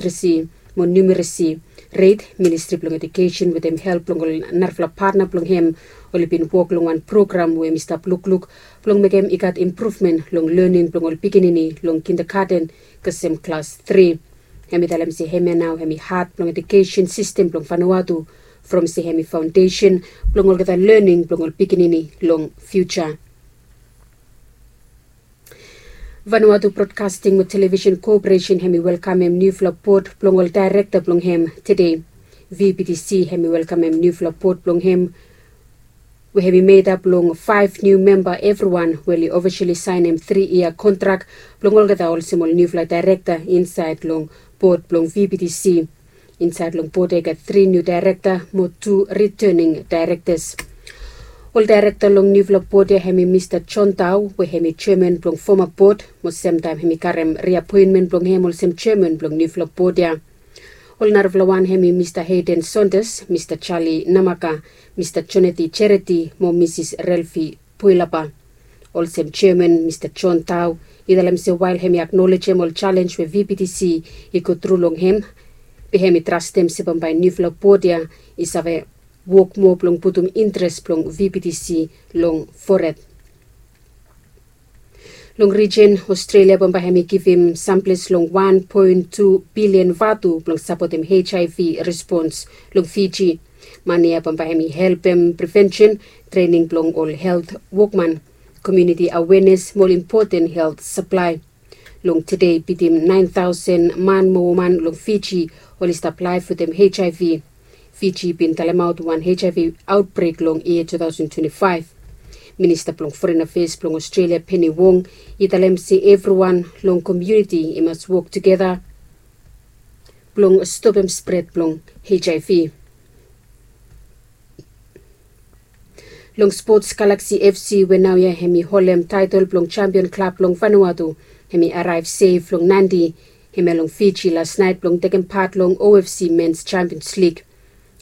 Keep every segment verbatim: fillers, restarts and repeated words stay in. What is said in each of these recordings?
literacy mo numeracy rate. Ministri blong Education wetem help blong ol narafala patna blong hem oli bin wok long wan program we hem i stap lukluk blong mekem i gat impruvmen long lening blong ol pikinini long kindergarten kasem klas tri. Hem i talem se hemia nao hem i hat blong Education sistem blong Vanuatu from se hem i faondesen blong olgeta lening blong ol pikinini long fiuja. Vanuatu Broadcasting mo Television Corporation hem i welkamem niufala bod blong ol daerekta blong hem tede. VBTC hem i welkamem niufala bod blong hem we hem i medap long faef niu memba evriwan we oli ofisali saenem tri yia kontrak blong olgeta olsem ol niufala daerekta insaed long bod blong VBTC. Insaed long bod ya i gat tri niu daerekta mo tu ritening daerektas. Ol daerekta long niufala bod ya hem i Mista John Tau we hem i jeaman blong foma bod mo semtaem hem i karem riapoenmen blong hem olsem jeaman blong niufala bod ya. Ol narafala wan hem i Mista Hayden Saunders, Mista Charlie Namaka, Mista Jonathy Charity mo Misis Relfi Puilapa. Olsem jeaman Mista John Tau i talem se wael hem i aknolejem ol jalenj we VBTC i gotru long hem, be hem i trastem se bambae niufala bod ya i save wok moa blong putum interes blong VBTC long fored. Long rijen Australia bambae hem i givim samples long wan poen tu bilian vatu blong sapotem HIV respons long Fiji. Mane ya bambae hem i helpem prevensen, trening blong ol helt wokman, komuniti awenes mo ol impoten helt saplae. Long tede bitim naen taosen man mo woman long Fiji oli stap laef wetem HIV. Fiji bin talemaot wan HIV aotbrek long yia tu taosen twenti faef. Minista blong Foren Afeas blong Australia Penny Wong i talem se evriwan long komuniti i mas wok tugeta blong stopem spred blong HIV. Long spots, Galaxy FC we naoia hem i holem taetol blong jampion klab blong Vanuatu hem i araev sef long Nadi hemia long Fiji lasnaet blong tekem pat long OFC Mens Champions League.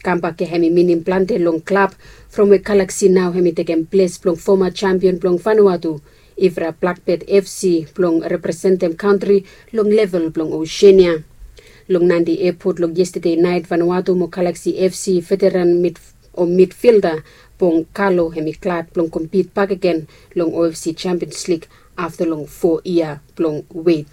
Kambak ya hem i minim plante long klab from we Galaxy nao hem i tekem ples blong foma jampion blong Vanuatu, Ivra Blackbird FC, blong representem kantri long level blong Oseania. Long Nadi epot long yestade naet Vanuatu mo Galaxy FC veteran mid o midfilda Bong Kalo hem i glad blong kompit bakegen long OFC Champions League afta long fo yia blong wet.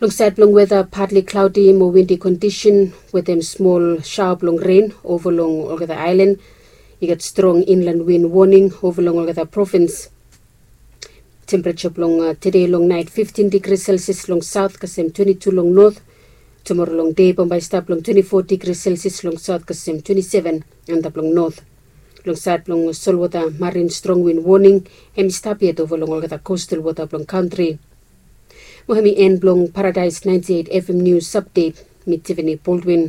Long saed blong weta, patli klaodi mo windi kondisen wetem smol saoa blong ren ova long olgeta aelan. I gat strong inlan win woning ova long olgeta provins. Tempereja blong tede long naet fiftin digri selsias long saot kasem twenti tu long not. Tumora long dei bambae i stap long twenti fo digri selsias long saot kasem twenti seven antap long not. Long saed blong solwota, marin strong win woning hem i stap yet ova long olgeta kostal wota blong kantri. Mo hem i en blong Paradaes naenti eit FM nius apdet. Mi Tiffany Baldwin.